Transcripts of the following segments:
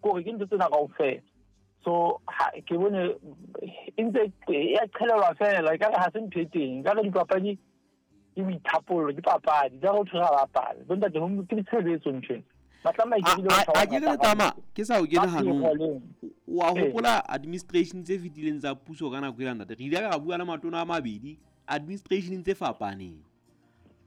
Kore ke ntho tsena kaofela. So ha ke bone e ntse e a qhelelwa fela, ekare ha se ntho e teng. Ekare dipapadi ke boithapollo, ke papadi. Ekare ho thwe ra bapala. Bo ntate ke tshebetso ntho ena. Ba tlameha ke bile batho ba A ke re tama ke sa o kene hanong. Wa hopola administration tse fetileng tsa puso ka nako ela ntate. Re ile ra bua le matona a mabedi administration tse fapaneng.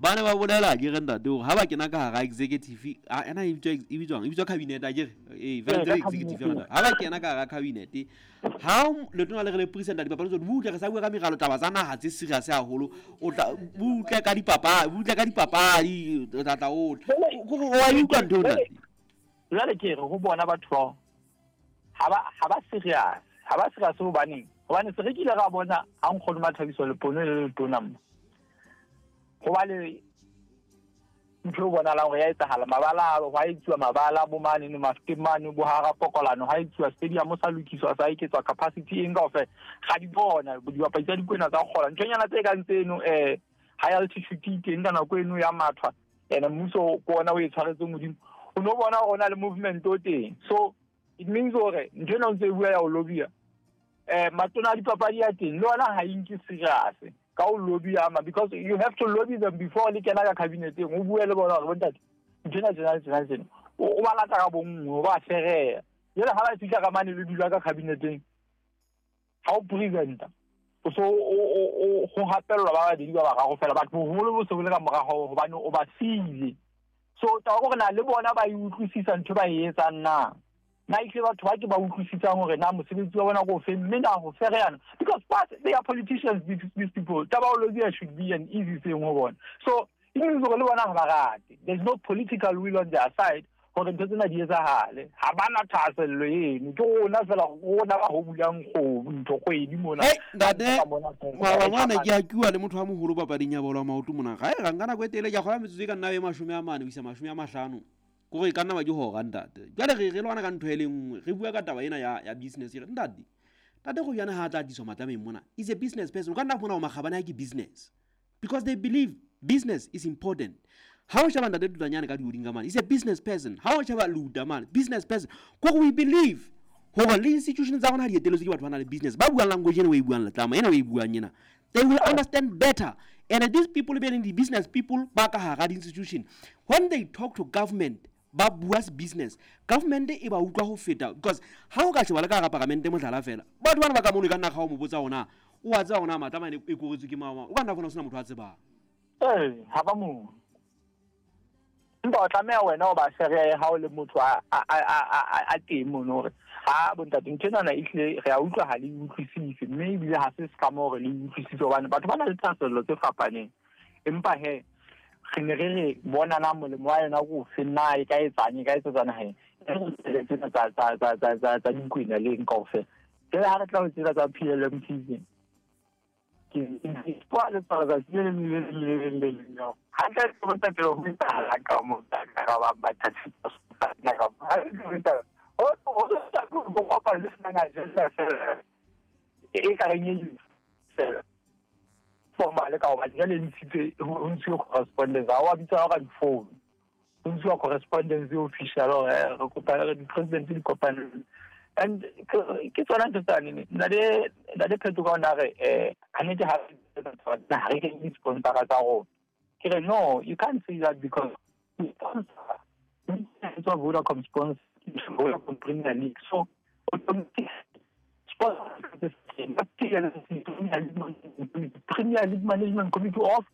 Ba ne ba bolela ke re ntate hore ha ba kena ka hara executive a ena e bitswa e bitswang e bitswa cabinet a ke re eh fela ntse executive yona ha ba kena ka hara cabinet ha letona le re le president dipapadi tsone butle re sa bua ka meralo taba tsa naha tse serious haholo o tla butle ka dipapadi butle ka dipapadi o tla tla o wa e utlwa ntho ntate. Jwale ke re ho bona batho bao ha ba ha ba serious, ha ba serious. Hobaneng? Hobane se re kile ra bona ha nkgono Mathabiso Lepono le letona mo ho ba le ntho e bonahalang hore ya etsahala, mabala ho a etsuwa, mabala bo mane no mafeteng mane bo hara pokolano ha etsuwa stadium, sa lokiswa, sa eketswa capacity, eng kaofela ga di bona dibapadi tsa Dikwena tsa kgola nthonyana tse kang tseno. High altitude teng ka nako eno ya mathwa ene mmuso ke ona o e tshwaretseng hodimo, o no bona hore o na le movement o teng. So it means hore ntho ena o ntse e bua ya ho lobia matona a dipapadi ya teng le ona ha e nke serious ka o lobby ama, because you have to lobby them before le kena ka cabineteng, o bue le bona hore bontate, ntho ena tjena tjena tjena, o ba lata ka bonngwe, o ba fereya. Jwale ha ba fihla ka mane le dula ka cabineteng, ha o presenta o so o go hapellwa ba babedi ba bararo fela, batho boholo bo se bo le ka morago hobane o ba siile. So taba gore na le bona ba e utlwisisa ntho ba e etsang na, na ehlile batho ba ke ba utlwisisang hore na mosebetsi wa bona ko o feng, mme na ho fereyana, because what they are politicians, these people, taba o lobia should be an easy thing ho bona. So e means hore le bona ha ba rate, there's no political will on their side hore ntho tsena di etsahale. Ha ba na thahasello eno, ke rona fela, rona ba ho bulang kgomo ntho kgwedi mona. Hey, ntate maabane ke a kiwa le motho wa moholo papading ya bolo ya maoto mona ga e ga nka nako e tele ke a kgola metsotso e ka nna e 40 ho isa 50, kore e ka nna ba ke hora ntate. Jwale re lwana ka ntho e le nngwe, re bua ka taba ena ya business. Re ntate, ntate go jana ha a tla tliswa matlameng mona is a business person. O ka nna fumana ho makgabane a ke business because they believe business is important. Ha o sheba ntate Tutanyane ka dioding ka mane, is a business person. Ha o sheba Luta mane, business person. Kore we believe hore le institution tsa rona ha di eteletswe ke batho ba nang le business, ba buang language ena o e buang, letlama ena o e buang ena, they will understand better. And these people being the business people ba ka hara di-institution, when they talk to government ba bua business, government e ba utlwa ho feta, because ha o ka sheba le ka hara paramente, mohlala fela, batho bana ba ka mono e ka nna ga o mo botsa hona o a tseba hona matlama e koretswe ke mang, o ka nna fona ho sena motho a tsebang. Ee, ha ba mo empa o tlameha wena o ba fereye ha o le motho a teng mono hore ha bontate ntho enana ehlile re a utlwa ha le e utlwisise, mme ebile ha se se mo hore le e utlwisise, hobane batho ba na le thahasello tse fapaneng. Empa he re ne re re bona na molemo wa yona ko ofe, na e ka etsang, e ka etsetsa naheng e tsena tsa Dikwena le eng kaofela. Jwale ha re tla ho tsena tsa PLMT, ke le letsatsi le leng le leng le leng le leng hantle ke botsa pele ho etsahala ka mo ka ba ba ka ho ho kopa le sena agenda fela e ka reng e fela formal, ka hobane jwale ntshitse ho ntshiwe correspondence, ha wa bitsa ka difounu, ho ntshiwa correspondence official hore re kopa re di-president di kopane. And ke tsona ntho tsane ntate Pheto ka ona re kannete ha re kenye di-sponsora tsa rona. Ke re no, you can't say that, because sponsor tswa Vodacom, sponsor Vodacom Premier League, so automatic sponsor Premier League Management Committee of,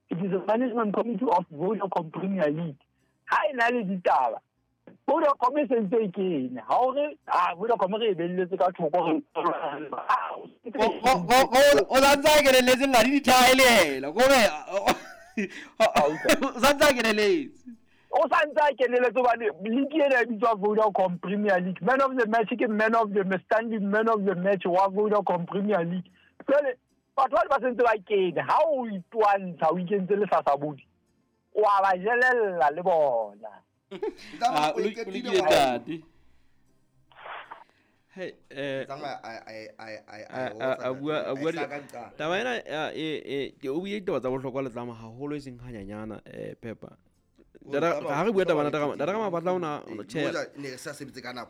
it is a management committee of Vodacom Premier League. Ha e na le ditaba, Vodacom e sentse e kene, ha o re a Vodacom re e belletse ka thoko re o santse a keneletse nna le dithaelela kore o santse a keneletse. O santse a keneletse hobane league ena e bitswa Vodacom Premier League. Man of the match ke man of the standing man of the match wa Vodacom Premier League. Jwale batho ba ba sentse ba kene, ha o itwantsha o ikentse lehlahla o a ba jelella le bona. Ah, o lokile ntate. Hey, a bua taba ena e ke o buile ditaba tsa bohlokwa le tlama haholo e seng hanyanyana pepa ha re bua taba ntate ka mapatla ona tjhe. Ne re sa sebetse ka nako.